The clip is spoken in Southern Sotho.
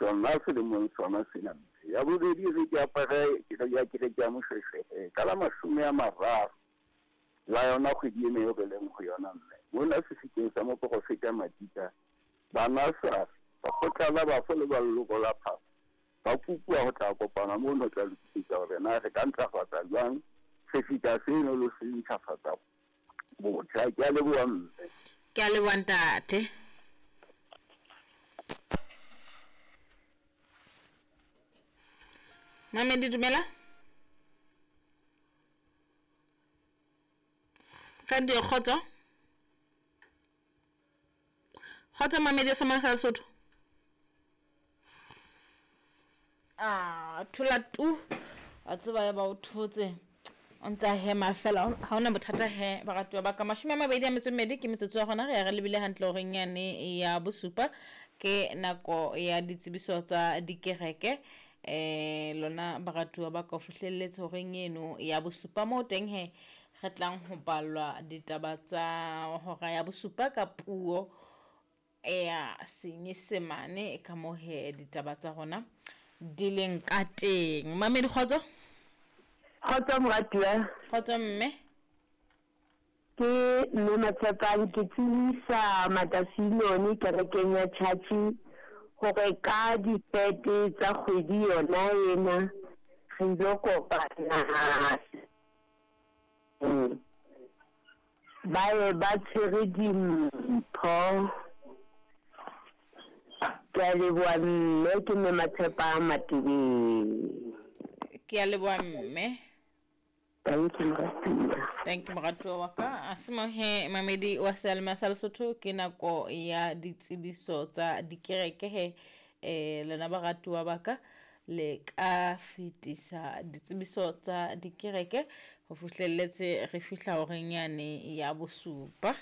Sona selemong sona sena mme. Ya bobedi e re ke apare kereke ya kereke ya Moshweshwe he ka la 30 la yona kgwedi ena eo re leng ho yona mme. Mona sefikeng sa moporofeta Madika, Banasari, lekgotla la bafo le ba leloko la Phako ba kopuwa ho tla kopana mono ho tla lokisetsa hore na re ka ntlafatsa jwang sefika seno le ho se ntjhafatsa botjha. Ke a leboha mme. Ke a leboha ntate. Mamedi dumela. Radio Kgotso. Kgotso Mamedi sa sa Lesotho. A thola tu wa tseba ya ba o thotse o ntse a hema fela ha ona bothata he baratuwa ba ka 22 ke metsotso ya gona re ya re lebile hantle horeng yane ya bosupa ke nako ya ditsebiso tsa dikereke lona baratuwa ba ka o fihlelletse horeng eno ya bosupa moo teng he re tlang ho ballwa ditaba tsa hora ya bosupa ka puo ya Senyesemane ka moo he ditaba tsa rona di leng ka teng. Mamedi kgotso. Kgotso moratuwa. Kgotso mme. Ke mme Matshepang ke tsebisa Matasilone kerekeng ya Church hore ka difete tsa kgwedi yona ena re ilo kopana ba ye ba tshwere dimpho. Ke a leboha mme, ke mme Matshepang Matebeng. Ke a leboha mme. Thank you moratuwa. Thank you moratuwa wa ka. A se mo he mamedi wa seyalemoya sa Lesotho ke nako ya ditsebiso tsa dikereke he lona baratuwa ba ka le ka fetisa ditsebiso tsa dikereke ho fihlelletse re fihla horeng yane ya bosupa.